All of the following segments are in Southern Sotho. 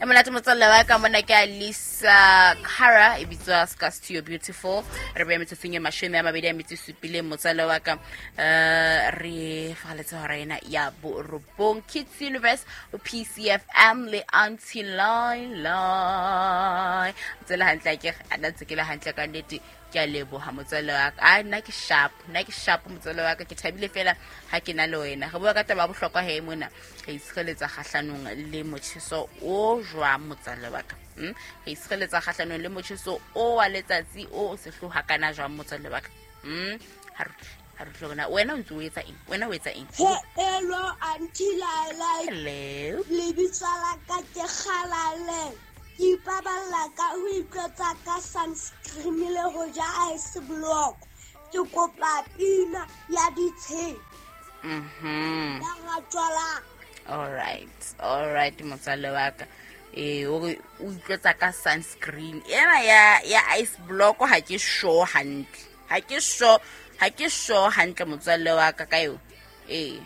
E monate motswalle wa ka mona ke Alisa Cara e bitswa Scars to Your Beautiful. Re beya metsotsong e 27 motswalle wa ka. Re fagaletse hora ena ya borobong. Kids Universe PCFM le Auntie Laila. Tsela hantle ke a nna ntse ke le hantle ka nnete. Ke a leboha motswalle wa ka. A nna ke sharp, nna ke sharp motswalle wa ka. Ke thabile fela ha ke na le wena. Re bua ka taba ya bohlokwa he mona. Re itshireletsa kgahlanong le motjheso o jwang motswalle wa ka? Re itshireletsa kgahlanong le motjheso o wa letsatsi o sehloha kana jwang motswalle wa ka? Ha re utlwe, ha re utlwe rona. Wena o ntse o etsa eng? Wena o etsa eng? Hello, Auntie Laila. Hello. Lebitso la ka ke Kgalale. Ke ipaballa ka ho itlotsa ka sunscreen le ho ja ice block. Ke kopa pina ya ditsheng. Ya ratswala. All right, all right, motswalle wa ka. O re o itlotsa ka sunscreen. Ena ya ice block ha ke sure hantle. Ha ke sure, ha ke sure hantle motswalle wa ka ka eo. Re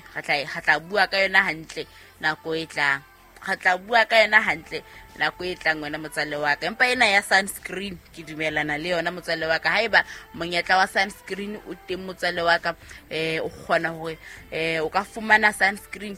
tla bua ka yona hantle nako e tlang. Re tla bua ka yona hantle nako e tlang wena motswalle wa ka. Empa ena ya sunscreen ke dumelana le yona motswalle wa ka. Haeba monyetla wa sunscreen o teng motswalle wa ka, o kgona hore, o ka fumana sunscreen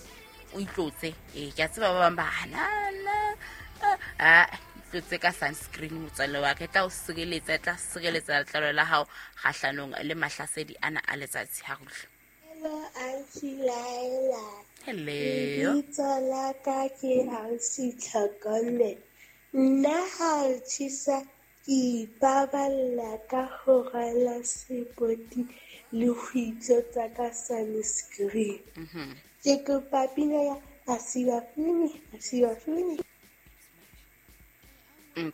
o itlotse. Ke a tseba ba bang ba hana, na, itlotse ka sunscreen motswalle wa ka. E tla o sireletsa, e tla sireletsa letlalo la hao kgahlanong le mahlasedi ana a letsatsi. Ha re utlwe. Hello, Auntie Laila. Hello. Lebitso la ka ke Ausi Tlhokomelo. Nna ha o tjhesa ke ipaballa ka ho rwala sepoti le ho itlotsa ka sunscreen. Ke kopa pina ya Asiwafuni, Asiwafuni.